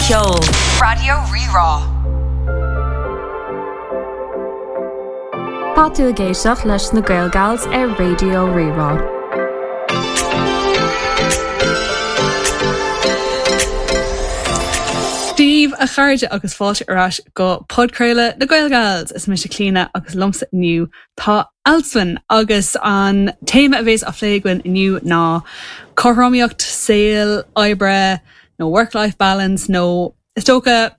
Ceol. Raidió Rí-Rá. Tá tú ag éisteacht leis na Gaelgals ar Raidió Rí-Rá. Dia daoibh a chairde agus fáilte ar ais go podchraoladh na Gaelgals! Is mise Clíona agus liomsa inniu tá Alswyn agus an téama a bhéas á phlé againn inniu ná cothromaíocht saoil, oibre nó work-life balance nó is dócha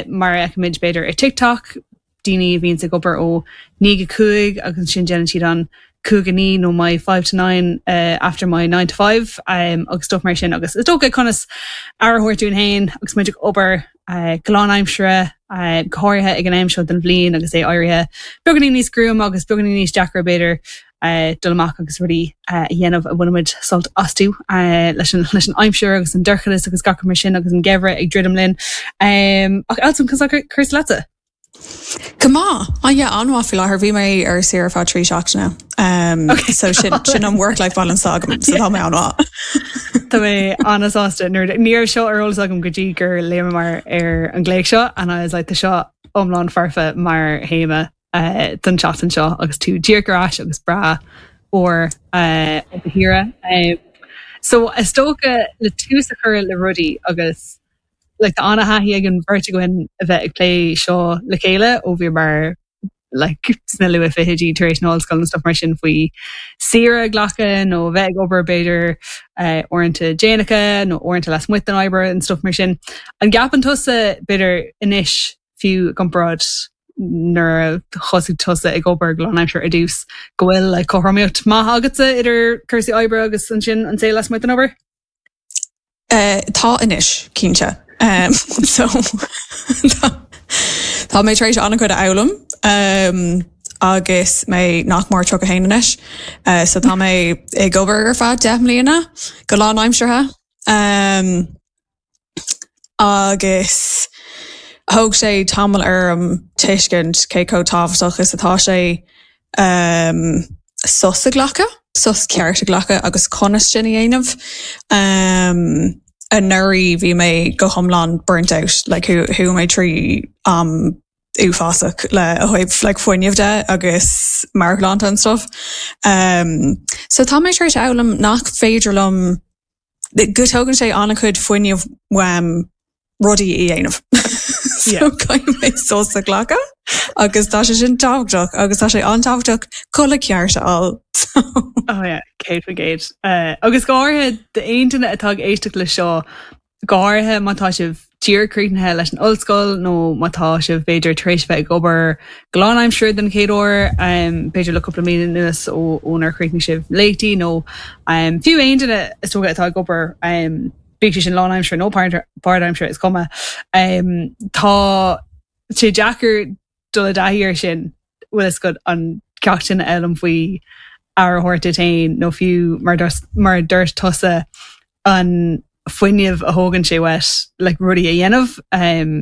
mar a fheicimid b'fhéidir ar TikTok, daoine a bhíonns ag obair ó 9 go 5 agus ansin déanann siad an 5 go 9 nó my 5 to 9 after my 9 to 5 agus stuff mar sin agus is dócha conas aire a thabhairt dúinn féin agus muid ag obair go lánaimseartha, go háirithe ag an am seo den bhliain agus é éirithe beagáinín níos gruama agus beagáinín níos deacra b'fhéidir dul amach agus rudaí a dhéanamh a bhainimid sult astu leis an leis an aimsir agus an dorchadas agus gach rud mar sin agus an geimhreadh ag druidim linn. Ach Alswyn, conas tá cúrsaí leatsa? Go maith. Oh yeah, an-mhaith faoi láthair. Bhí mé ar saoire ar feadh 3 seachtaine. Um, okay. So sin, sin an work-life balance agam, so tá mé an-mhaith. Tá mé an-sásta nuair ní raibh seo ar eolas agam go dtí gur léamar ar an nglaoch seo and I was like tá seo iomlán foirfe mar théama uh, don tseachtain seo agus tú díreach ar ais agus breá úr uh, ó do shaoire. Um, so is dócha le tús a chur le rudaí agus like tá an-thaithí ag an bheirt againn a bheith ag plé seo le chéile ó bhíomar like sna luath-fhichidí tar éis na hollscoile and stuff mar sin faoi saoire a ghlacadh nó a bheith ag obair b'fhéidir uh, uaireanta déanacha nó uaireanta lasmuigh den obair and stuff mar sin. An gceapann tusa b'fhéidir anois fiú i gcomparáid nuair a thosaigh tusa ag obair go lánaimseartha ar dtús go bhfuil like cothromaíocht maith agatsa idir cúrsaí oibre agus ansin an saol lasmuigh den obair? Tá anois, cinnte. So tá mé tar éis an-chuid a fhoghlaim agus mé nach mór 31 anois. So tá mé ag obair ar feadh 10 mbliana go lánaimseartha. Agus thóg sé tamall orm tuiscint cé chomh tábhachtach is atá sé sos a ghlacadh, sos ceart a ghlacadh agus conas sin a dhéanamh. Anuraidh bhí mé go hiomlán burnt out, like chuaigh mé trí am uafásach le ó thaobh like fuinneamh de agus meabhairshláinte and stuff. So tá mé tar éis a fhoghlaim nach féidir liom go dtógann sé an-chuid fuinnimh uaim rudaí a dhéanamh. So caithfidh mé sos a ghlacadh agus tá sé sin tábhachtach agus tá sé an-tábhachtach codladh ceart a fháil. Oh yeah, 100%. Uh, agus go háirithe d'aon duine atá ag éisteacht le seo, go háirithe má tá sibh díreach críochnaithe leis an ollscoil nó má tá sibh b'fhéidir tar éis bheith ag obair go lánaimseartha den chéad uair, b'fhéidir le cúpla bliain anuas ó ónar chríochnaigh sibh léachtaí nó fiú aon duine is dócha atá ag obair, bíodh sé sin lánaimseartha nó páirtaimseartha, is cuma. Tá sé deacair dul i dtaithí air sin, bhfuil fhios agat, an ceacht sin a fhoghlaim faoi aire a thabhairt duit féin nó fiú mar mar a dúirt tusa an fuinneamh a thógann sé uait like rudaí a dhéanamh um,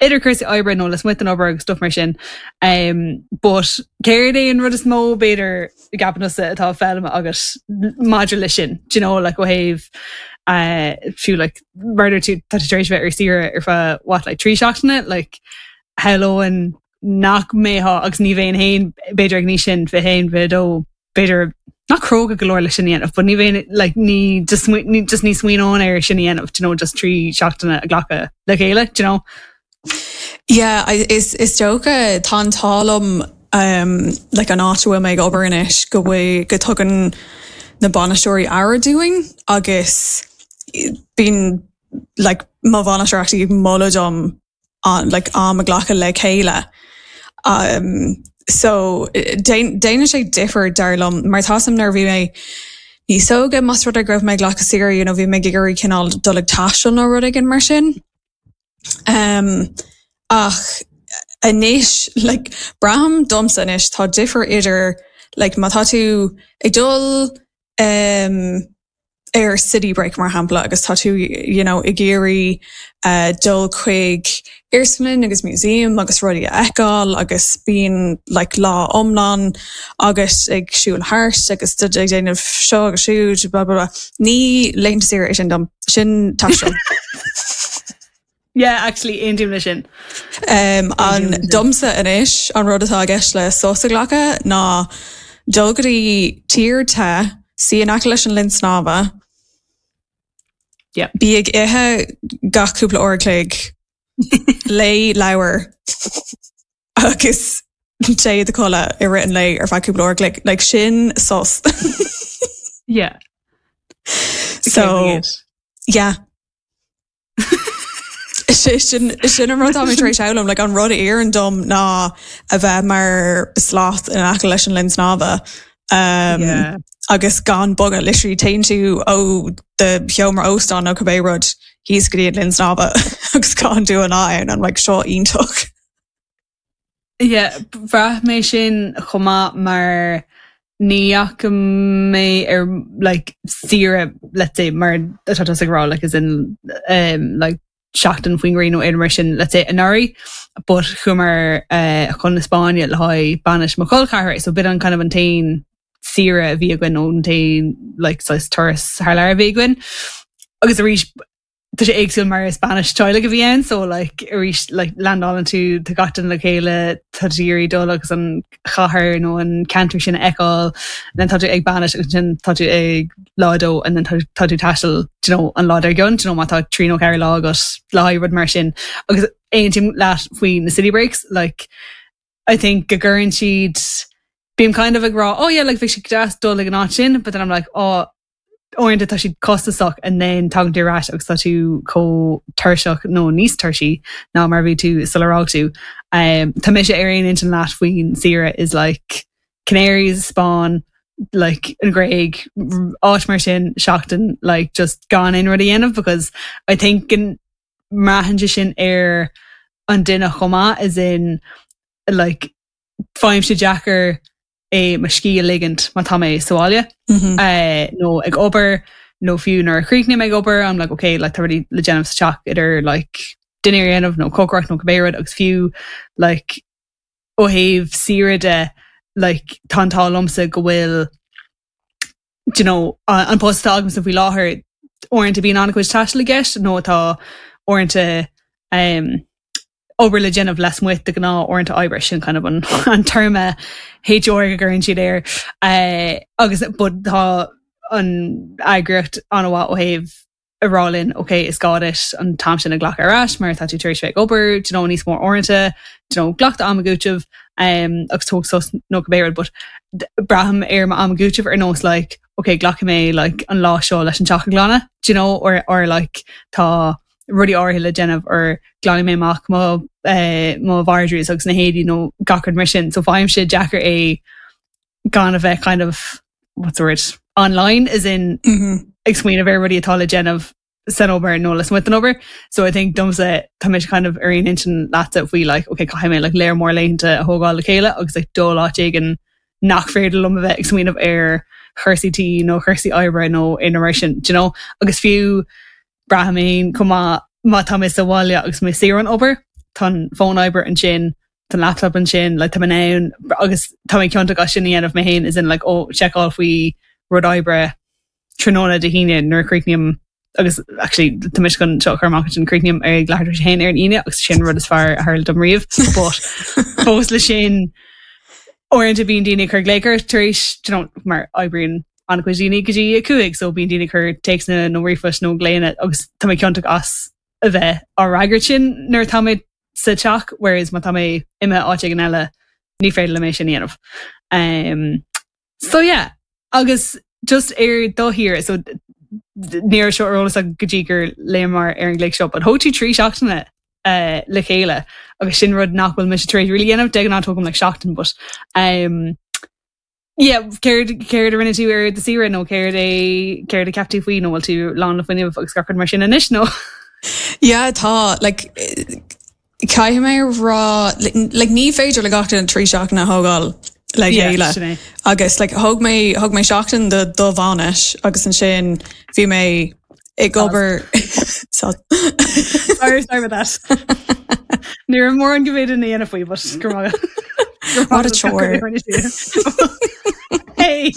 idir cúrsaí oibre nó lasmuigh den obair agus stuff mar sin. Um, but céard é an rud is mó b'fhéidir a gceapann tusa atá foghlamtha agat maidir leis sin, do you know, like ó thaobh uh, fiú like mar a dúirt tú tá tú tar éis bheith ar saoire ar feadh what like 3 seachtaine like shamhlóinn nach mbeifeá agus ní bheinn féin b'fhéidir ag an aois sin 21 22 b'fhéidir nach cróga go leor le sin a dhéanamh but ní bheinn like ní just ní just ní smaoineoinn air sin a dhéanamh do you know just 3 seachtaine a ghlacadh le chéile do you know. Yeah I is is dócha tá an t-ádh liom um like an áit a bhfuil mé ag obair anois go bhfuil go dtugann na bainisteoirí aire dúinn agus bíonn like mo bhainisteoir actually ag moladh dom an like am a ghlacadh le chéile. Um so déanann sé difear dar liom mar tá 'fhios a'm nuair a bhí mé níos óige más rud é go raibh mé ag glacadh saoire you know bhí mé ag iarraidh cineál dul ag taisteal nó rud éigin mar sin. Um ach anois like braithim domsa anois tá difear idir like má tá tú ag dul um ar city break mar shampla agus tá tú you know ag iarraidh uh dul chuig iarsmalann agus museum agus rudaí a fheiceáil agus bíonn like lá iomlán agat ag siúl thart agus ag déanamh seo agus siúd blah blah blah. Ní laethanta saoire é sin dom, sin taisteal. Yeah, actually, aontaím leis sin. Um, an domsa anois an rud atá i gceist le sos a ghlacadh ná dul go dtí tír te, suí in aice leis an linn snámha, Yeah. bí ag ithe gach cúpla uair a chloig, léigh leabhar agus téigh i do chodladh i rith an lae ar feadh cúpla uair a chloig. Like sin sos. Yeah. So, yeah. Sin sin an rud tá mé tar éis foghlaim, like an rud a oireann dom ná a bheith mar sloth in aice leis an linn snámha. Um, Yeah. agus gan bogadh literally téann tú ó do sheomra óstáin nó cibé rud thíos go dtí an linn snámha agus caitheann tú an lá ann I'm like seo iontach. Yeah, bhraith mé sin chomh maith mar ní dheachaigh mé ar like saoire let's say mar atá tusa ag rá like as in um, like seachtain faoin ngrian nó aon mar sin let's say anuraidh but chuamar uh, chun na Spáinne le haghaidh bainis mo chol ceathrar so b'in an kind of an t-aon saoire a bhí againn nó an t-aon like saghas turas thar lear a bhí againn. Agus arís tá sé éagsúil mar is bainis teaghlaigh a bhí ann so like arís like landálann tú tá gach duine le chéile tá tú ag iarraidh dul agus an chathair nó an ceantar sin a fheiceáil and then tá tú ag bainis agus ansin tá tú ag lá a dó and then tá tá tú taisteal do you know an lá dár gcionn do you know má tá trí nó ceathair lá agat le haghaidh rud mar sin agus aontaím leat faoi na city breaks like I think go gcuireann siad bím kind of ag rá oh yeah like bheadh sé deas dul ag an áit sin but then I'm like oh uaireanta tá siad costasach and then tagann tú ar ais agus tá tú chomh tuirseach nó níos tuirsí ná mar a bhí tú sular fhág tú. Um, tá mise ar aon intinn leat faoin saoire is like Canaries, Spáinn, like an Ghréig, áit mar sin seachtain like just gan aon rud a dhéanamh because I think go mbraitheann sé sin ar an duine chomh maith as in like faighimse deacair é mo scíth a ligint má tá mé sa bhaile nó ag obair nó fiú nuair a chríochnaím ag obair I'm like okay like tá rudaí le déanamh sa teach idir like dinnéar a dhéanamh nó cócaireacht nó cibé rud agus fiú like ó thaobh saoire de like tá an t-ádh liomsa go bhfuil do you know an post atá agamsa faoi láthair uaireanta bíonn an-chuid taistil i gceist nó tá uaireanta um, obair le déanamh lasmuigh de ghnáth uaireanta oibre sin kind of an, an téarma HR go gcuireann siad air uh, agus but tá an eagraíocht an-mhaith ó thaobh a rá linn ok is gá duit an t-am sin a ghlacadh ar ais mar tá tú tar éis bheith ag obair do you know, níos mó uaireanta do you know, glac do am cúitimh um, agus tóg sos nó cibé rud but braithim ar mo am cúitimh ar nós like ok glacfaidh mé like an lá seo leis an teach a ghlanadh do you know or, or like tá rudaí áirithe le déanamh or glanfaidh mé amach mo eh, mo vardrús agus na héadaí nó gach rud mar sin. So faighimse deacair é gan a bheith kind of what's the word online as in mm -hmm. ag smaoineamh ar rudaí atá le déanamh san obair nó lasmuigh den obair. So I think domsa tá mé kind of ar aon intinn leatsa faoi like okay caithfidh mé like léar mór laethanta a thógáil le chéile agus like dul áit éigin nach féidir liom a bheith ag smaoineamh ar chúrsaí tí nó chúrsaí oibre nó aon mar sin, do you know? Agus fiú Braithim féin chomh maith má tá mé sa bhaile agus mé saor ón obair, tá an fón oibre ansin, tá an laptop ansin, like tá mé in ann agus tá mé ciontach as sin a dhéanamh mé féin as in like oh seiceáil faoi rud oibre tráthnóna Dé hAoine nuair a chríochnaím agus actually tá mise chun seo a chur amach ansin chríochnaím ar ag leathuair tar éis a haon ar an Aoine agus sin rud is fearr a tharla dom riamh but fós le sin uaireanta bíonn daoine ag cur glaoch ort tar éis do you know mar oibríonn an-chuid daoine go dtí 5 so bíonn daoine ag cur téacsanna nó ríomhphoist nó glaonna agus tá mé ciontach as a bheith á fhreagairt sin nuair atá mé sa teach whereas má tá mé imithe áit éigin eile ní féidir liom é sin a dhéanamh. Um, so yeah, agus just ar do shaoire so ní raibh seo ar eolas agam go dtí gur léamar ar an gclic seo, but thóg tú 3 seachtaine uh, le chéile agus sin rud nach bhfuil mise tar éis really dhéanamh de ghnáth tógaim like seachtain but um, Yeah, céard céard a rinne tú ar do saoire nó céard é céard a cheap tú faoi nó bhfuil tú lán le fuinneamh agus gach rud mar sin anois nó? Yeah, tá, like, caithfidh mé a rá, like, ní féidir le gach duine 3 seachtaine a thógáil le Yeah, chéile. sin é. Agus like, thóg mé thóg mé seachtain do do bhainis agus ansin bhí mé ag obair so Sorry, sorry about that. Ní raibh mórán go bhféadfainn a dhéanamh faoi, but go raibh maith. What a chore. Hey!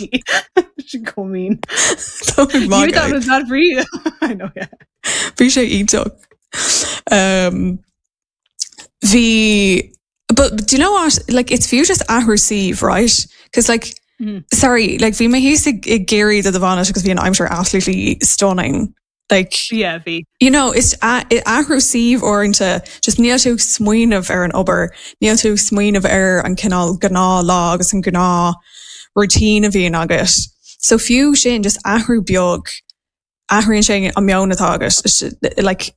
Sin chomh mean. Tá mé You magadh. thought it was bad for you. I know, yeah. Bhí sé iontach. Um, bhí but do you know what like it's fiú just athrú suímh right because like mm. sorry like bhí mé thíos i gCiarraí do do bhainis agus bhí an aimsir absolutely stunning like yeah bhí you know is athrú suímh uaireanta just níl tú ag smaoineamh ar an obair níl tú ag smaoineamh ar an cineál gnáth lá agus an gnáth routine a bhíonn agat so fiú sin just athrú beag athraíonn sé an meon atá agat like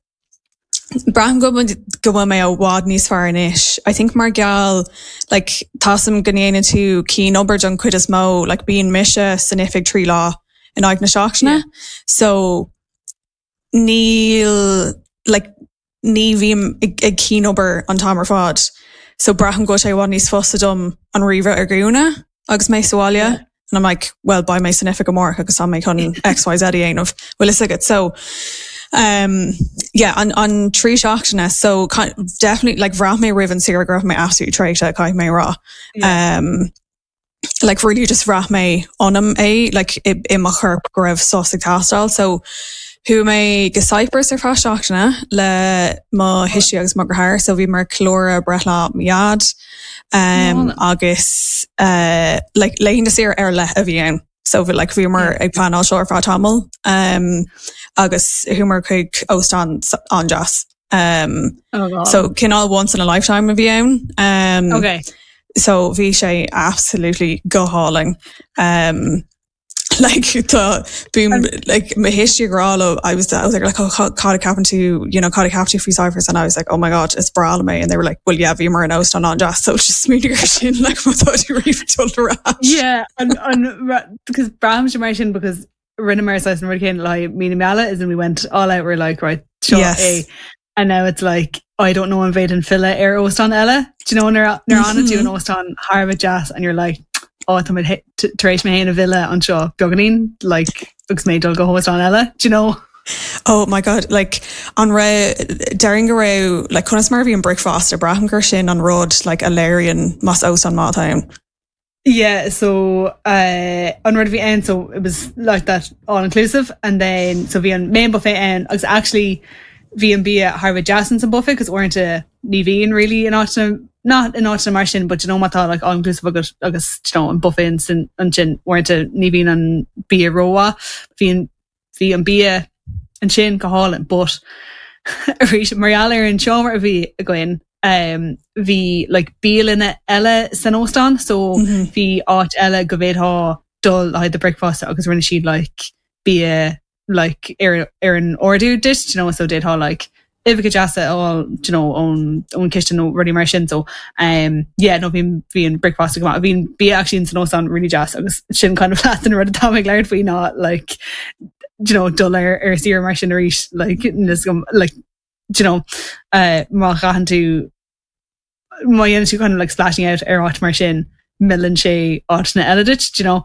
Braithim go go bhfuil mé i bhfad níos fearr anois. I think mar gheall like tá a fhios agam go ndéanann tú cianobair don chuid is mó like bíonn mise san oifig 3 lá in aghaidh na seachtaine so níl like ní bhím ag ag cianobair an t-am ar fad so braithim go bhfuil sé i bhfad níos fusa dom an ríomhaire a dhúnadh agus mé sa bhaile. Yeah. And I'm like, well, beidh mé san oifig amárach agus tá mé chun XYZ a dhéanamh. Bhfuil fhios agat. So, um, yeah, an, an 3 seachtaine. So, definitely, like, bhraith mé roimh an saoire go raibh mé absolutely traochta, caithfidh mé a rá. Yeah. Um, like, really just bhraith mé ionam é, like, i, i mo chorp go raibh sos ag teastáil. So, chuaigh mé go Cyprus ar feadh seachtaine le mo thuistí agus mo dheartháir, so bhíomar ag ceiliúradh breithlá mo dhaid. Um, agus uh, like, laethanta saoire ar leith a bhí ann. So bhí like, bhíomar ag pleanáil seo ar feadh tamaill um, agus chuamar chuig óstán an-deas. Um, oh, so cineál once in a lifetime a bhí ann. Um, okay. So bhí sé absolutely go hálainn. Um, like tá bím like mo thuistí ag rá liom I was I was like oh cad a ceapann tú you know cad a cheap tú faoi Cyprus and I was like oh my god is breá liom é and they were like well yeah bhíomar in óstán an-deas so just smaoinigh air sin like má tá tú riamh ag dul ar ais. Yeah an an because braithimse mar sin because rinneamar saghas an rud céanna le haghaidh mí na meala is and we went all out we're like right seo Yes. é and now it's like I don't know an bhféadfainn filleadh ar óstán eile do you know nuair nuair a fhanann tú in óstán thar a bheith deas and you're like oh tá mé tar éis mé féin a mhilleadh anseo beagáinín like agus mé ag dul go hóstán eile do you know Oh my god like an raibh déarfainn go raibh like conas mar a bhí an bricfeasta braithim gur sin an rud like a léiríonn más óstán maith atá ann. Yeah, so uh, an rud a bhí ann, so it was like that all inclusive and then so bhí an main buffet ann agus actually bhí an bia thar a bheith deas ins an buffet because uaireanta ní bhíonn really in áiteanna not in áiteanna mar sin but you know má tá like all inclusive agus agus you know an buffet ansin ansin uaireanta ní bhíonn an bia rómhaith bhí an bhí an bia ansin go hálainn but arís mar gheall ar an seomra a bhí againn um, bhí like bialanna eile san óstán so mm -hmm. bhí áit eile go bhféadfá dul le haghaidh do bricfeasta agus rinne siad like bia like ar ar an ordú duit you know so d'fhéadfá like uibheacha deasa a fháil you know ón ón chistin nó rudaí mar sin so um yeah no bhí bhí an bricfeasta go maith bhí an bia actually san óstán really deas agus sin kind of leath den rud atá mé ag labhairt faoi ná like you know dul ar ar saoire mar sin arís like níos go like you know uh má chaitheann tú má dhéanann tú kind of like splashing out ar áit mar sin, milleann sé áiteanna eile duit, do you know?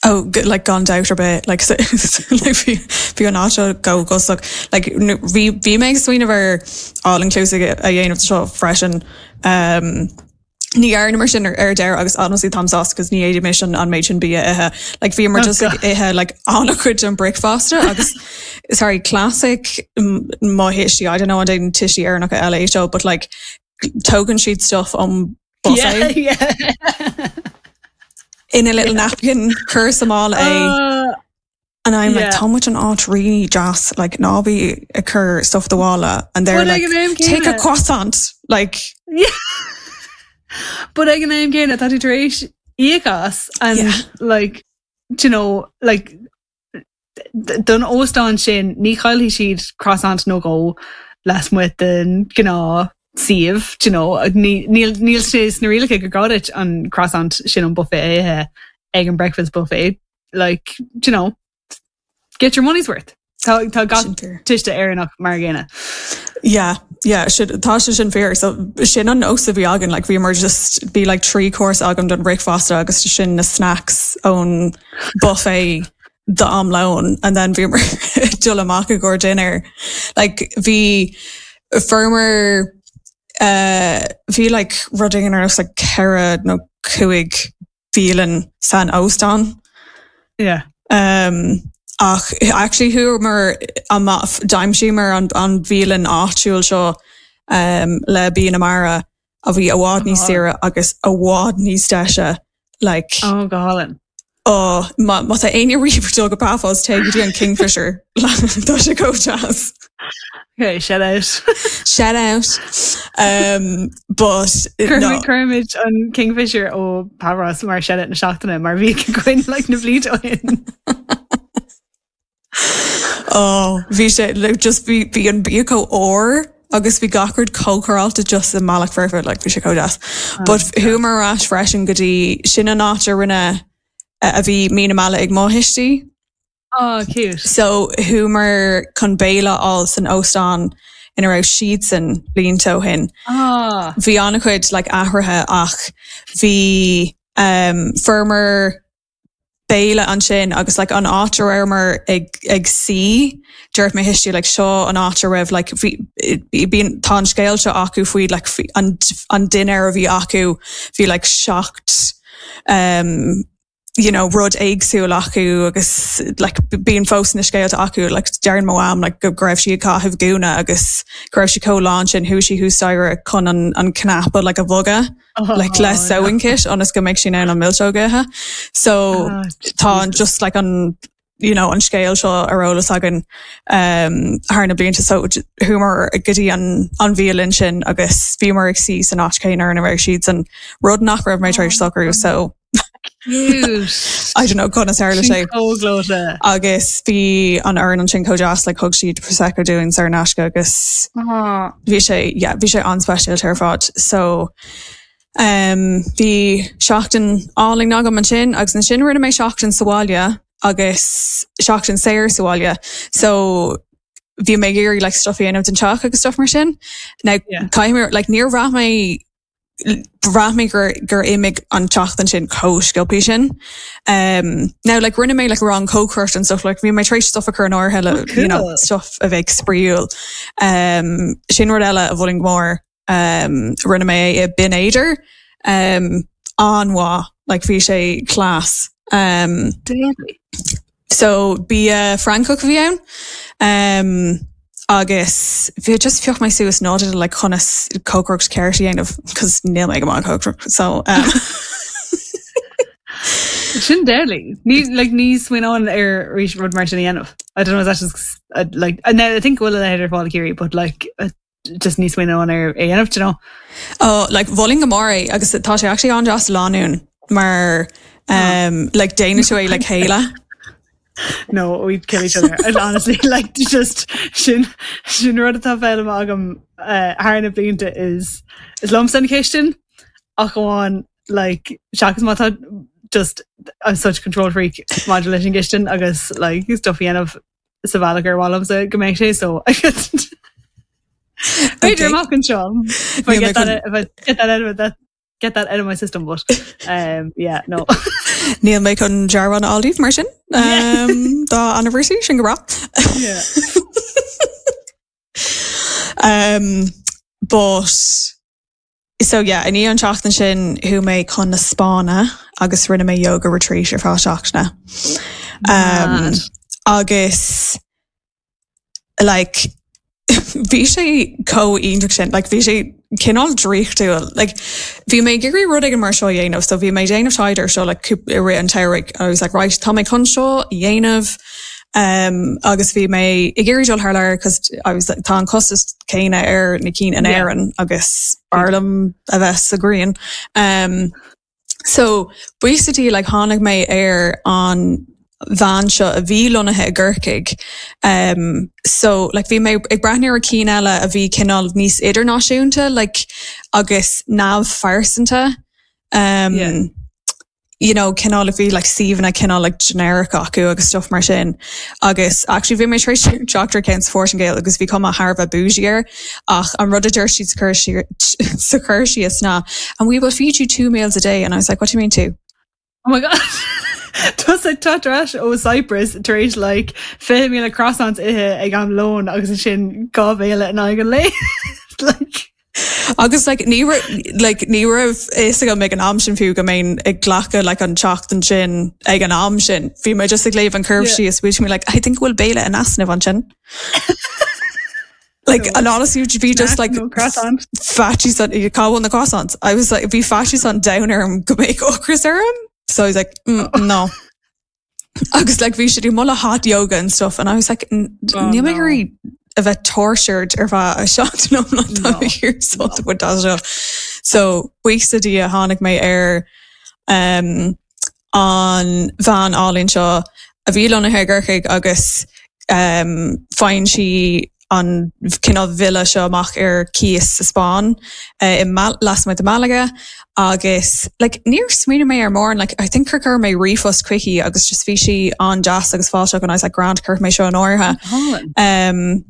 Oh, like gan dabht ar bith, like like bhí bhí an áit seo go gosach. Like bhí bhí mé ag smaoineamh ar all inclusive a dhéanamh seo freisin. Um, ní dhearnamar sin ar ar deireadh agus honestly táim sásta cos ní fhéadfaimis an an méid sin bia a ithe. Like bhíomar oh, just ag ithe like an-chuid den bricfeasta agus sorry classic mo thuistí I don't know an déanann tuistí Éireannacha eile é seo but like tógann siad stuff ón buffet yeah, yeah. in a little yeah. napkin cuir sa mála é uh, and I'm yeah. like tá muid in áit really deas like ná bí ag cur stuff i do mhála and they're But like ag an am take a céanna- croissant like Yeah. But ag an am céanna tá tú tar éis íoc as and Yeah. like do you know like don óstán sin ní chaillfidh siad croissant nó dhó lasmuigh den ghnáth suíomh do you know níl níl sé sna rialacha gur gá duit an croissant sin ón buffet a ithe ag an breakfast buffet like do you know get your money's worth. Tá tá gach tuiste Éireannach mar an gcéanna. Yeah, yeah, tá sé sin fíor. So sin an nós a bhí againn, like bhíomar just bhí like 3 course agam don bricfeasta agus sin na snacks ón buffet do am lóin and then bhíomar ag dul amach i gcomhair dinner. Like bhí fuaireamar uh, bhí like rud éigin ar nós like 4 nó 5 bhialann san óstán. Yeah. Um, Ach actually chuamar amach, d'aimsíomar an an bhialann áitiúil seo um, le bia na mara a bhí i bhfad níos saoire agus i bhfad níos deise like Oh go hálainn. Oh, má má tá éinne riamh ag dul go Paphos téigh go dtí an Kingfisher tá sé chomh deas. Okay, shout out. Shout out. Um, but no. Cuirfimid an Kingfisher ó Paphos mar shout out na seachtaine mar bhí againn like na blianta ó shin. Oh, bhí sé like, just bhí bhí an bia chomh úr agus bhí gach rud chomh cóireáilte just i mbealach foirfe like bhí sé chomh deas. But chuamar ar ais freisin go dtí sin an áit a rinne a bhí mí na meala ag mo thuistí. Oh, cute. So chuamar chun béile a fháil san óstán ina raibh siadsan blianta ó shin. Ah. Bhí an-chuid like athruithe ach bhí um, fuaireamar béile ansin agus like an áit a rabhamar ag ag suí dúirt mo thuistí like seo an áit a raibh like bhí bíonn tá an scéal seo acu faoi like an an dinnéar a bhí acu bhí like seacht um, you know, rud éagsúil acu agus like, bíonn fós na scéalta acu like, deireann mo mham like, go raibh sí ag caitheamh gúna agus go raibh sí chomh lán sin chuaigh sí thuas staighre chun an, an cnaipe like, a bhogadh oh, like, le sewing kit ionas go mbeidh sí in ann an milseog a ithe. So oh, tá an just like an you know, an scéal seo ar eolas againn um, thar na blianta so chuamar go dtí an, an bhialann sin agus bhíomar ag suí san áit chéanna ina raibh siadsan rud nach raibh mé tar éis socrú so Cute. I don't know conas tharla Sin sé. chomh gleoite. Agus bhí an fhoireann ansin chomh deas like thug siad prosecco dúinn saor in aisce agus Aw. bhí sé yeah, bhí sé an-speisialta ar fad. So um, bhí seachtain álainn agam ansin agus ansin rinne mé seachtain sa bhaile agus seachtain saor sa bhaile. So bhí mé ag iarraidh like, stuff a dhéanamh den teach agus stuff mar sin. Now Yeah. caithfidh mé like, níor bhraith mé bhraith mé gur gur imigh an tseachtain sin chomh sciobtha sin. Um, now like rinne mé like rang cócaireachta and stuff like bhí mé tar éis stuff a chur in áirithe le Oh, you know, cool. stuff a bheidh spraíúil. Um, sin rud eile a mholfainn go mór. Um, rinne mé é i Binn Éadair. Um, an-mhaith, like bhí sé class. Um, Deadly. So bia Francach a bhí ann um, agus bhí just phioc mé suas nodanna like conas cócaireacht ceart a dhéanamh cos níl mé go maith ag cócaireacht so um, Sin deadly. Ní like ní smaoineoinn ar arís rud mar sin a dhéanamh. I don't know is that just uh, like and I think go bhfuil a leithéid ar fáil i gCiarraí but like uh, just ní smaoineoinn ar é a dhéanamh, do you know? Oh, like mholfainn go mór é agus tá sé actually an-deas do lánúin mar um, like déanann tú é le chéile. No, we'd kill each other. And honestly, like just sin sin rud atá foghlamtha agam uh, thar na blianta is is liomsa an chistin ach amháin like seachas má tá just I'm such a control freak maidir leis an gcistin agus like stuff a dhéanamh sa bhealach ar mhaith liomsa go mbeidh sé so B'fhéidir amach anseo if I get that if I get that out of it that get that out of my system but um, yeah no Níl mé chun dearbhán a fháil díobh mar sin um, dá anniversary sin go breá. Yeah. um, but So yeah, i ndiaidh an tseachtain sin chuaigh mé chun na Spáinne agus rinne mé yoga retreat ar feadh seachtaine. Um, agus like bhí sé chomh iontach sin, like bhí sé cineál draíochtúil. Like bhí mé ag iarraidh rud éigin mar seo a dhéanamh, so bhí mé ag déanamh taighde ar seo like i rith an tsamhraidh. I was like, right, tá mé chun seo a dhéanamh. Um, agus bhí mé ag iarraidh dul thar lear cos I was like, tá an costas céanna ar na cinn in Éirinn agus b'fhearr liom a bheith sa ghrian. Um, so basically like tháinig mé ar an bhean seo a bhí lonnaithe i gCorcaigh. Um, so like bhí mé ag breathnú ar cinn eile a bhí cineál níos idirnáisiúnta like agus neamhphearsanta. Um, Yeah. you know, cineál a bhí like suíomhanna cineál like generic acu agus stuff mar sin. Agus actually bhí mé tar éis teacht ar ceann sa Phortaingéil agus bhí cuma thar a bheith bougie air ach an rud a dúirt siad sa chur síos sa chur síos ná and we will feed you two meals a day and I was like what do you mean two? Oh my god. Tusa ag teacht ar ais ó Cyprus tar éis like 20,000 croissants ithe ag am lóin agus ansin dhá bhéile in aghaidh an lae. Like. Agus like ní like ní raibh fhios agam ag an am sin fiú go mbeinn ag glacadh like an tseachtain sin ag an am sin. Bhí mé just ag léamh an curve síos, bhí mé like I think bhfuil béile in easnamh ansin. Like and honestly bhí just like faitíos an cá bhfuil na croissants. I was like bhí faitíos an domhain orm go mbeadh ocras orm. So I was like mm, no. Agus like bhí siad ag moladh hot yoga and stuff and I was like oh, níl mé ag iarraidh a bheith tortured ar feadh seachtain iomlán tá mé ag iarraidh sult a bhaint as seo. So buíochas le Dia tháinig mé ar um, an bhean álainn seo a bhí lonnaithe i gCorcaigh agus um, faigheann sí an cineál villa seo amach ar cíos sa Spáinn i lasmuigh de Malaga agus like níor smaoinigh mé ar mórán like I think gur chuir mé ríomhphost chuici agus just bhí sí an-deas agus fáilteach and I was like grand cuirfidh mé seo in áirithe. Um,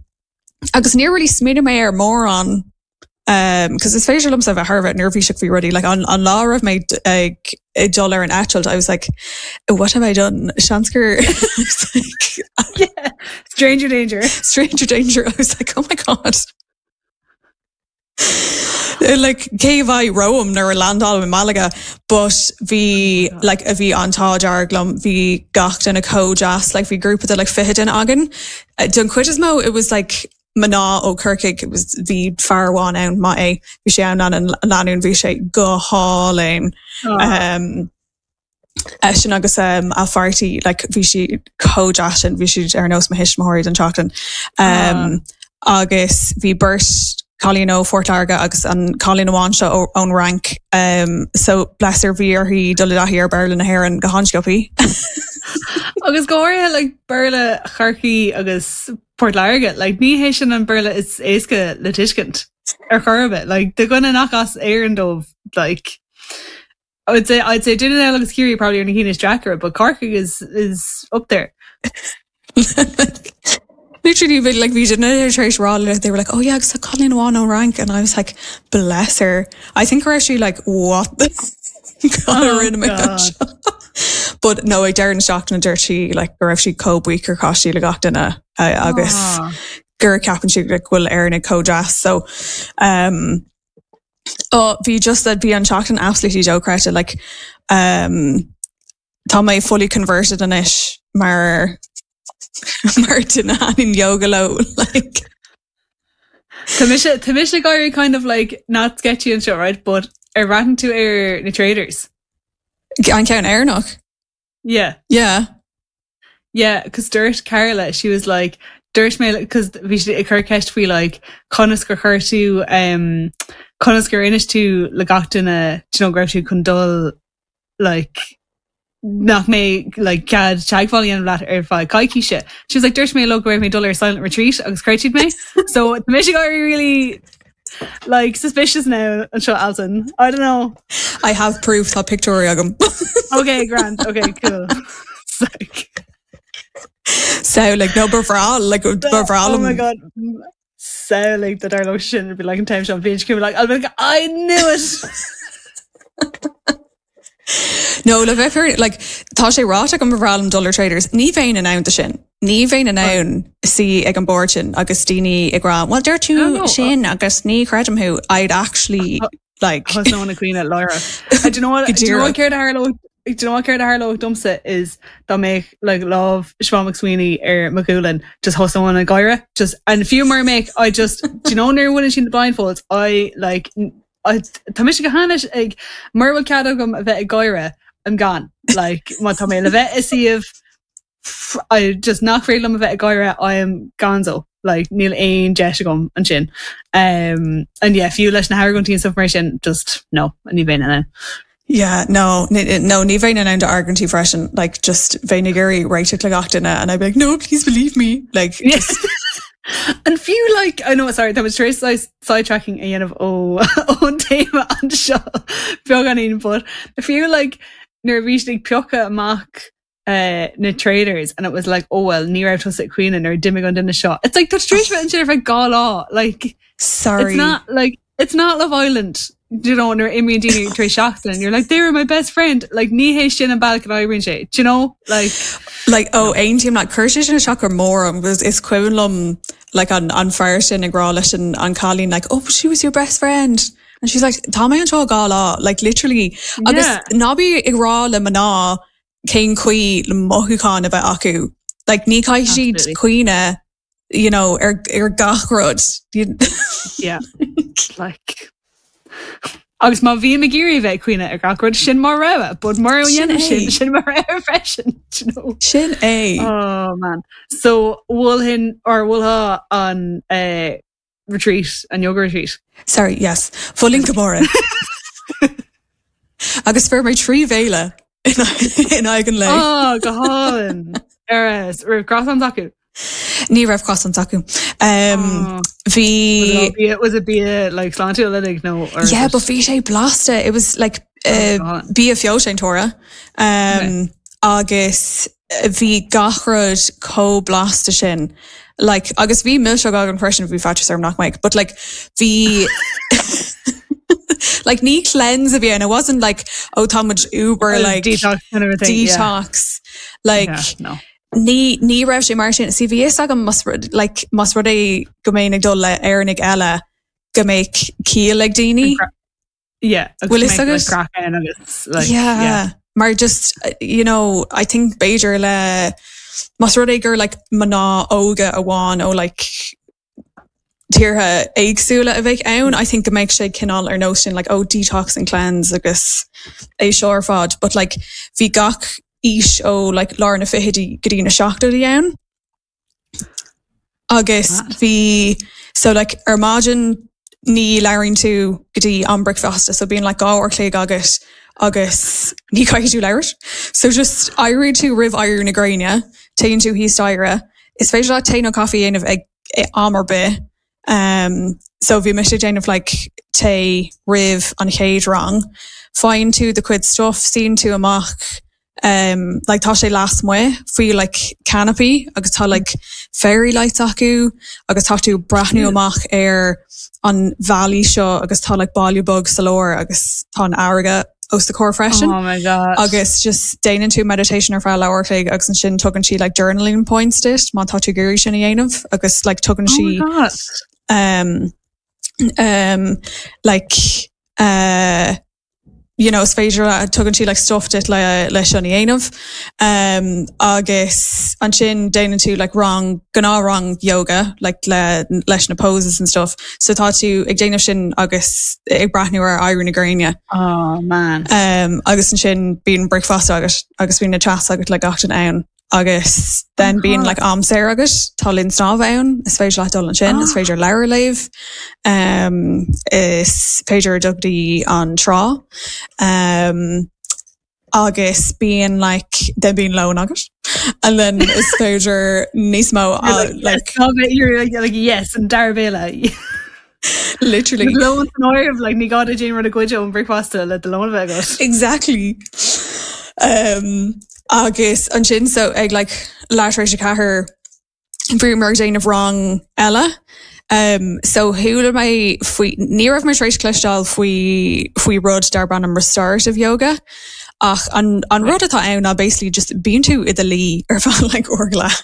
agus níor really smaoinigh mé ar mórán Um, cos is féidir liomsa bheith thar a bheith neirbhíseach faoi rudaí, like an, an lá a raibh mé ag, ag dul ar an eitilt, I was like, what have I done? Seans gur, I was like, yeah. Stranger danger. Stranger danger. I was like, oh my God. Like, cé a bheidh romham nuair a landálaim i Malaga, but bhí, like, a bhí an t-ádh dearg liom, bhí gach duine chomh deas, like, bhí grúpa de like 20 duine againn. Don chuid is mó, it was like, mná ó Chorcaigh, it was, bhí fear amháin ann, maith é, bhí sé ann lena lánúin, bhí sé go hálainn. Um, eisean agus um, a pháirtí, like, bhí siad chomh deas sin, bhí siad ar nós mo thuismitheoirí don tseachtain. Um, agus bhí beirt cailín ó Phort Láirge agus an cailín amháin seo ón Fhrainc. Um, so bless her bhí uirthi dul i dtaithí ar Béarla na hÉireann go han-sciobtha. Agus go háirithe like, Béarla Chorcaí agus Port Láirge, like, ní hé sin an Béarla is éasca le tuiscint ar chor ar bith. Like, do dhuine nach as Éirinn dóibh, like, I'd say, I'd say Dún na nGall agus Ciarraí probably are na cinn is deacra, but Corcaigh is, is up there. Literally, but like bhí duine tar éis rá le they were like, oh yeah, agus tá cailín amháin ón Fhrainc and I was like, bless her. I think we're actually like, what the God oh, rinne mé seo. But no, ag deireadh na seachtaine dúirt sí like, go raibh sí chomh buíoch gur chas sí le gach duine uh, agus ah. gur ceapann sí like, go bhfuil Éireannaigh chomh deas. So um, oh, bhí just that bhí an tseachtain absolutely dochreidte like um, tá mé fully converted anois mar mar duine a thaitníonn yoga leo like. Tá mise tá mise ag éirí kind of like not sketchy anseo right but ar bhreathnaigh tú ar na Traitors? An ceann Éireannach? Yeah. Yeah. Yeah, cos dúirt Carla, she was like, dúirt mé, cos bhí sí ag cur ceist faoi like conas gur chuir tú um, conas gur inis tú le gach duine do you know, go raibh tú chun dul like nach mbeadh like cead teagmháil a dhéanamh leat ar feadh coicíse. She was like dúirt mé leo go raibh mé ag dul ar silent retreat agus chreid siad mé. So tá mise ag éirí really like suspicious now anseo Alison. I don't know. I have proof tá pictiúirí agam. Okay, grand. Okay, cool. Sick. So like no ba bhreá like ba bhreá Oh my god. Samhlaigh dá dtarlódh sin be like an time seo bhí like I'll be like I knew it. No le bheith fíor like tá sé ráite agam ba bhreá liom dul ar Traitors. Ní bheinn in ann do sin. Ní bheinn in ann suí ag an bord sin agus daoine ag rá well dúirt tú sin agus ní chreidim thú. I'd actually like Thosnóinn ag caoineadh láithreach. Do you know what do you know what céard a tharlódh do you know what céard a tharlódh domsa is dá mbeadh like lámh Siobhán McSweeney ar mo ghualainn just thosnóinn ag gáire just and fiú mura mbeadh I just do you know nuair a bhaineann sí na blindfolds I like Tá mise go hainnis ag, mura bhfuil cead agam a bheith ag gáire, I'm gone. Like, má tá mé le bheith i suíomh I just nach féidir liom a bheith ag gáire, I am gonzo. Like, níl aon deis agam ansin. Um, and yeah, fiú leis na hargóintí and stuff mar sin, just, no, ní bheinn in ann. Yeah, no, no, ní bheinn in ann d'argóintí freisin, like, just bheinn ag iarraidh réiteach le gach duine and I'd be like, no, please believe me. Like, just... And fiú like, I know, sorry, tá tar éis sidetracking a dhéanamh ó ón téama anseo beagáinín, but fiú like nuair a bhí siad ag piocadh amach uh, na traitors and it was like, oh well, ní raibh tusa ag caoineadh nuair a d'imigh an duine seo. It's like tá tar éis bheith ansin ar feadh dhá lá, like Sorry. it's not like it's not Love Island. you know, nuair imíonn daoine tar éis seachtain, you're like, they were my best friend. Like, ní hé sin an bealach a n-oibríonn sé, do you know? Like, Like, ó, aontaím leat, chuir sé sin isteach go mór orm, because is cuimhin liom like, an, an fear sin ag rá leis an, an cailín, like, oh, she was your best friend. And she's like, tá mé anseo dhá lá, like, literally. Agus Yeah. ná bí ag rá le mná cén chaoi le mothúcháin a bheith acu. Like, ní caithfidh siad cuimhneamh you know, ar, ar gach rud. Yeah. Like. Agus má bhím ag iarraidh bheith ag cuimhneamh ar gach rud sin mo rogha, but mura ndéanaim sin sin mo rogha freisin. You know? Sin é. Oh man. So mholfainn or mholfá an uh, retreat, an yoga retreat? Sorry, yes. Mholfainn go mór é. Agus fuair mé 3 bhéile in aghaidh an lae. Oh, go hálainn. Ar raibh croissants acu? Ní raibh croissants acu. Um, oh. Bhí was it bia like sláintiúil uilig nó or Yeah, but bhí sé blasta. It was like uh, oh, bia feoilséantóra. Um, okay. Agus bhí gach rud chomh blasta sin. Like, agus bhí milseog agam freisin bhí faitíos orm nach mbeadh, but like bhí like ní cleanse a bhí ann. It wasn't like oh tá muid uber like detox kind of a thing, detox. Yeah. Like yeah, no. ní ní raibh sé mar sin. See bhí fhios agam más rud like más rud é go mbeinn ag dul le Éireannaigh eile go mbeadh ciall ag daoine. Yeah, Bhfuil fhios agat? Like, agus like, yeah, yeah. Mar just you know, I think b'fhéidir le más rud é gur like mná óga amháin ó like tíortha éagsúla a bheidh ann, I think go mbeidh sé cineál ar nós sin like oh detox and cleanse agus é seo ar fad, but like bhí gach aois ó like lár na fichidí go dtí na seachtóidí ann. Agus bhí so like ar maidin ní labhraíonn tú go dtí am bricfeasta so bíonn like 2 uair chloig agat agus ní chaithfidh tú labhairt. So just éiríonn tú roimh éirí na gréine, téann tú thíos staighre, is féidir leat tae nó caife a dhéanamh ag am ar bith. Um, so bhí mise ag déanamh like tae roimh an chéad rang. Faigheann tú do chuid stuff, suíonn tú amach um, like tá sé lasmuigh faoi like canopy agus tá like fairy lights acu agus tá tú breathnú amach ar an valley seo agus tá like baile beag sa lár agus tá an fharraige os do chomhair freisin. Oh my God. Agus just déanann tú meditation ar feadh leathuair a chloig agus ansin tugann sí like journaling points duit má tá tú ag iarraidh sin a dhéanamh agus like tugann Oh sí my God. um, um, like uh, you know, is féidir le tugann sí like stuff duit le le sin a dhéanamh. Um, agus ansin déanann tú like rang gnáthrang yoga like le leis na poses and stuff. So tá tú ag déanamh sin agus ag breathnú ar éirí na gréine. Oh man. Um, agus ansin bíonn bricfeasta agat agus bíonn na chats agat le gach duine ann. Agus then bíonn like am saor agat, tá linn snámha ann, is féidir leat dul ansin, is féidir leabhar a léamh, um, is féidir dul go dtí an trá. Um, agus bíonn like then bíonn lón agat and then is féidir níos mó uh, like, like you're like, like yes an dara béile literally lón san áireamh like ní gá duit aon rud a ghoid ón bricfeasta le do lón a bheith agat. Exactly. Um, agus ansin so ag like leath tar éis a 4 bhíomar ag déanamh rang eile. Um, so chuala mé faoi ní raibh mé tar éis cloisteáil faoi faoi rud darb ainm restorative yoga ach an, an rud atá ann ná basically just bíonn tú i do luí ar feadh like uair go leath.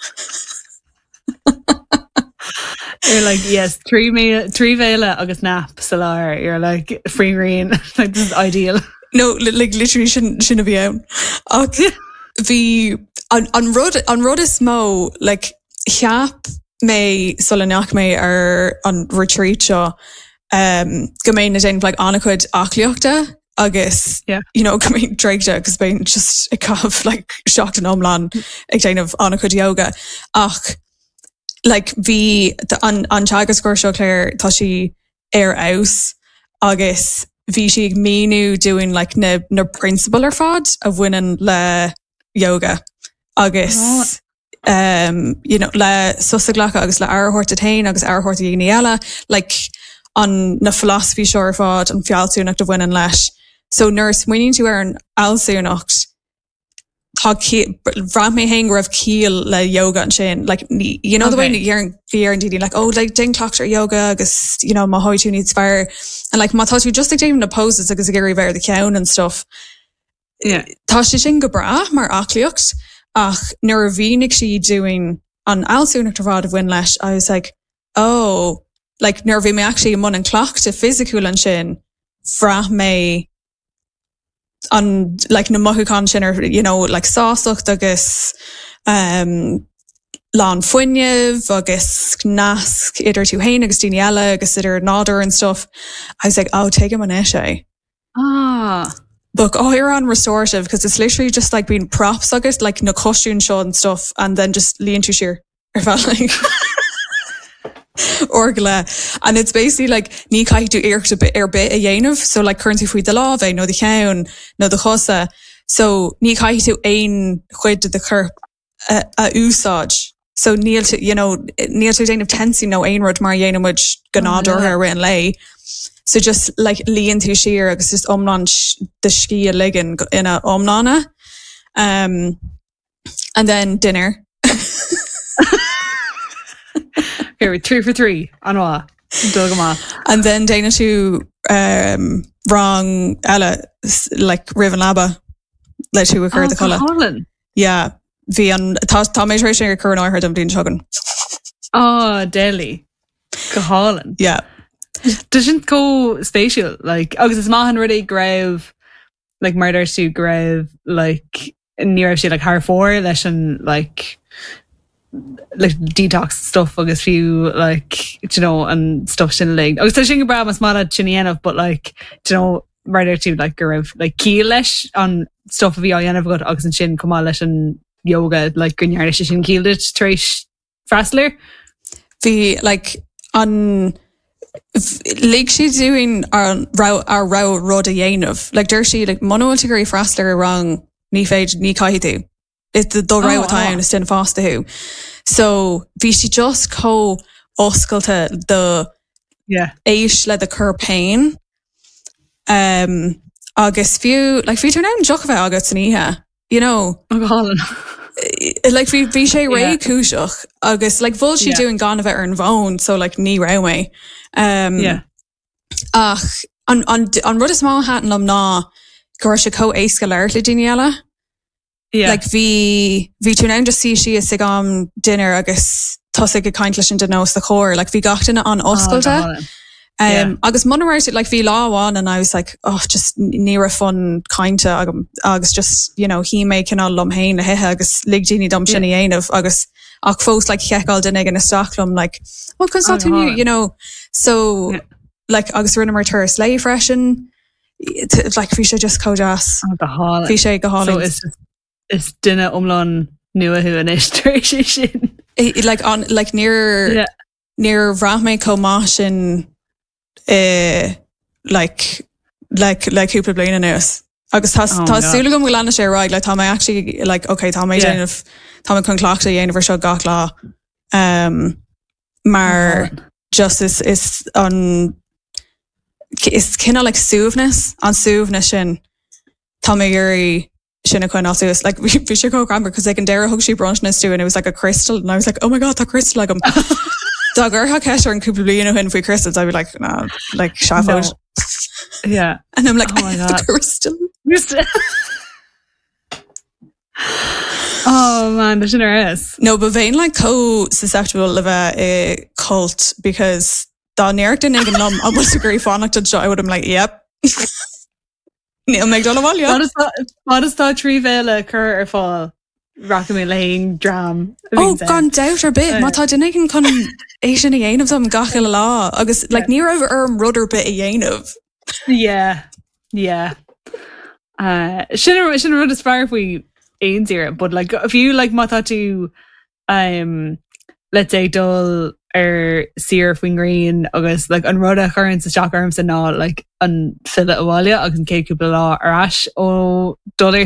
You're like yes 3 bhéile agus nap sa lár you're like faoin ngrian like this is ideal. No like literally sin sin a bhí ann. Ach bhí an, an rud an rud is mó like cheap mé sula ndeachaigh mé ar an retreat seo um, go mbeinn ag déanamh like an-chuid aclaíochta agus yeah. you know, go mbeinn traochta agus beinn just ag caitheamh like seachtain iomlán ag déanamh an-chuid yoga ach like bhí an, an teagascóir seo Claire tá sí ar fheabhas agus bhí sí ag míniú dúinn like na, na prionsabail ar fad a bhaineann le yoga agus oh. um, you know, le sos a ghlacadh agus le aire a thabhairt duit féin agus aire a thabhairt do dhaoine eile, like an na philosophy seo ar fad, an fealsúnacht a bhaineann leis. So nuair a smaoiníonn tú ar an fhealsúnacht, Tá bhraith mé féin go raibh ciall le yoga ansin like you know the way deireann daoine like oh like déan cleachtadh ar yoga agus you know mothóidh tú níos fearr and like má tá tú just ag déanamh na poses agus ag iarraidh bheith ar do cheann and stuff yeah. Tá sé sin go breá mar aclaíocht ach nuair a mhínigh sí dúinn an fhealsúnacht ar fad a bhain leis I was like oh like nuair a bhí mé actually i mbun an cleachtadh fisiciúil ansin bhraith mé an like na mothúcháin sin ar you know like sástacht agus um, lán fuinnimh agus nasc idir tú féin agus daoine eile agus idir nádúr and stuff. I was like, oh, tuigim anois é. Ah. But oh, you're on restorative because it's literally just like being props agus like na cushion seo and stuff and then just luíonn tú siar ar feadh like uair go leith. And it's basically like ní caithfidh tú iarracht ar bith ar bith a dhéanamh, so like cuireann tú faoi do lámh é nó do cheann nó do chosa, so ní caithfidh tú aon chuid de do chorp a, a úsáid. So níl tú, you know, níl tú ag déanamh tensing nó aon rud mar a dhéanann muid go nádúrtha i rith an lae. So just like luíonn tú siar agus just iomlán do scíth a ligean ina iomláine. Um, And then dinner. Here, 3 for 3 an-mhaith dul go maith. And then déanann tú um, rang eile like roimh an leaba le tú a chur i do chodladh. Hálainn. Yeah, bhí an tá tá mé tar éis é a chur in áirithe don bhliain seo chugainn. Oh, deadly. Go hálainn. Yeah. Tá sin chomh spéisiúil, like, agus is maith an rud é go raibh like mar a dúirt tú go raibh like ní raibh sé like thar fóir leis an like like detox stuff agus fiú like you know an stuff sin uilig. Agus tá sin go breá más maith leat sin a dhéanamh but like you know mar a dúirt tú like go raibh like ciall leis an stuff a bhí á dhéanamh agat agus ansin chomh maith leis an yoga like go ndearna sé sin ciall duit tar éis freastal air. Bhí like an lig sí dúinn ár ár rogha rud a dhéanamh. Like deir sí like muna bhfuil tú ag iarraidh freastal ar rang ní féidir ní caithfidh tú. Is do do rogha atá ann is duine fásta thú. So bhí sí just chomh oscailte do Yeah. éist le do chorp féin. Um, agus fiú like bhí tú in ann deoch a bheith agat san oíche. you know. Go hálainn. Like bhí bhí sé réchúiseach agus like mhol sí dúinn gan a bheith ar an bhfón so like ní raibh mé. Um, yeah. Ach an, an, an rud is mó a thaitin liom ná go raibh sé chomh éasca labhairt le daoine eile. Yeah. Like bhí bhí tú in ann just suí síos ag am dinnéir agus tosaigh ag caint leis an duine os do chomhair, like bhí gach duine an-oscailte. Oh, Um, agus muna raibh like bhí lá amháin and I was like oh just ní raibh fonn cainte agam agus just you know shuigh mé cineál liom féin le hithe agus lig daoine dom sin a dhéanamh agus ach fós like sheiceáil duine éigin isteach liom like well conas tá tú inniu you know so Yeah. like agus rinneamar turas lae freisin like bhí sé just chomh deas. Oh, go hálainn. Bhí sé go So hálainn. is is duine iomlán nua thú anois tar éis é sin. Like on like níor Yeah. Níor bhraith mé chomh maith sin i like like le cúpla bliain anuas. Agus tá Oh my tá God. súil agam go leanfaidh sé ar aghaidh, like tá mé actually like okay tá mé Yeah. déanamh tá mé chun cleachtadh a dhéanamh ar seo gach lá. Um, mar just is is an is cineál like suaimhneas an suaimhneas sin tá mé ag iarraidh sin a choinneáil suas. Like bhí sé chomh greannmhar cos ag an deireadh thug sí bronntanas dúinn and it was like a crystal and I was like oh my god tá crystal agam. Dá gcuirfeá ceist orm cúpla bliain ó shin faoi crystals I'd be like no like seafóid. No. Yeah. And I'm like Oh my I have God. a crystal. Oh man, tá sin ar fheabhas. No, but bheinn like chomh susceptible le bheith i cult because dá ndéarfadh duine éigin liom an bhfuil tú ag iarraidh fanacht anseo I would have been like yep. Níl mé ag dul abhaile. Fad is tá 3 bhéile curtha ar fáil, rachaidh mé le haon dream a Ó, bhíonns ann. gan dabht ar bith, má tá duine éigin chun é sin a dhéanamh dom gach uile lá agus like ní raibh orm rud ar bith a dhéanamh. Yeah, yeah. Uh, sin an sin an rud is fearr faoi aon saoire, but like fiú like má tá tú um, let's say dul ar saoire faoin ngrian agus like, an rud a chuireann isteach ormsa ná like, an filleadh abhaile agus an chéad cúpla lá ar ais ó dul ar.